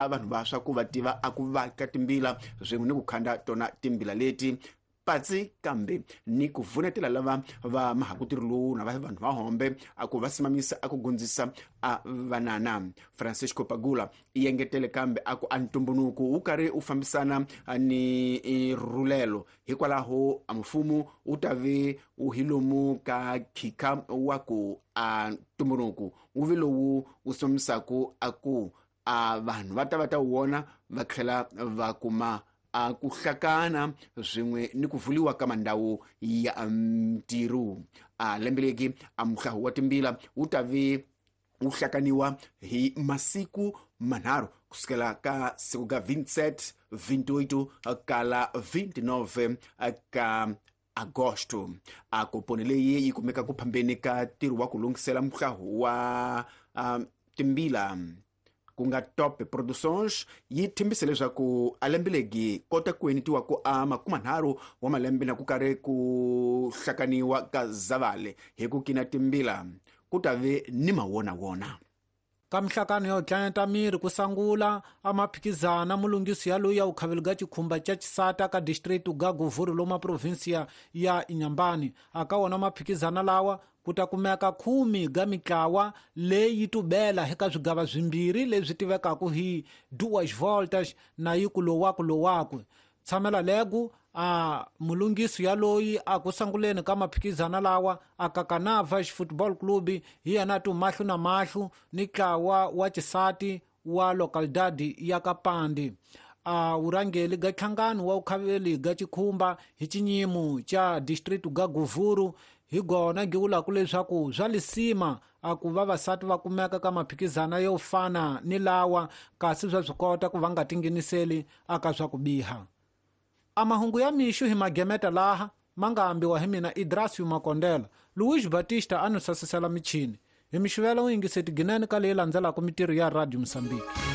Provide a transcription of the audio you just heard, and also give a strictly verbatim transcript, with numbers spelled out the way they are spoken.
Vanhu vantshwa ku va tiva a ku vaka timbila swin'we ni ku khanda tona timbila leti patsi kambe ni ku vunetela lava va mahakutirhi lowu na va vanhu va hombe a ku va simamisa a ku gundzisa a vanana. Francisco Pagula i engetele kambe a ku a ntumbunuku wu karhi wu fambisana ni rhulelo, hikwalaho a mfumo wu ta ve wu hi lomu ka khikha wa ku a ntumbunuku wu ve lowu wu simamisaku a ku a vanhu va ta va ta wona va tlhela va kuma a ku hlakana swin'we ni ku vuliwa ka mandhawu ya ntirho. A lembe leki a muhlahu wa timbila wu ta ve wu hlakaniwa hi masiku manharhu kusukela ka siku ka vintisete, vintiotto kala vintinove ka agosto. A koponi leyi yi kumeka ku phambeni ka ntirho wa ku lunghisela muhlahu wa um, timbila ku nga Top Productions yi thembise leswaku a lembe legi kota ku enetiwa ku a makumanharhu wa malembe na ku karhi ku hlakaniwa ka Zavale hi ku kina timbila ku ta ve ni mawonawona. Ka mihlakano ya tlanyata miri ku sangula a maphikizana mulungisi ya loyi ya ukhaveli ga chikhumba cha chisata ka district ga Govuro loma provinsia ya Inhambane. Aka wona maphikizana lawa ku ta kumeka khumi ga mitlawa leyi tubela eka swigava swimbirhi leswi tivekaka hi duas voltas na yi ku lowaku lowaku. Tshamela legu a mulungisi ya loyi a ku sanguleni ka maphikizana lawa a Kakanavas Football Club hi yena tu mahlu na mahlu ni tlawa wa chisati wa localidade ya Kapandi. A urangeli ga nhlangano wa ukhaveli ga chikhumba hi chinyimo cha district ga Govuro hi gona giwulaku leswaku swa lisima a ku vavasati va kumeka ka maphikizana yo fana ni lawa kasi swa swi kota ku va nga tingheniseli aka swa ku biha. A mahungu ya mixo hi magemeta laha ma nga ambiwa hi mina Idrasio Makondela, Luis Batista a no sasisela michini. Hi mixivela u yingiseti ginene ka leyi landzelaka mitirho ya Radio Mozambique.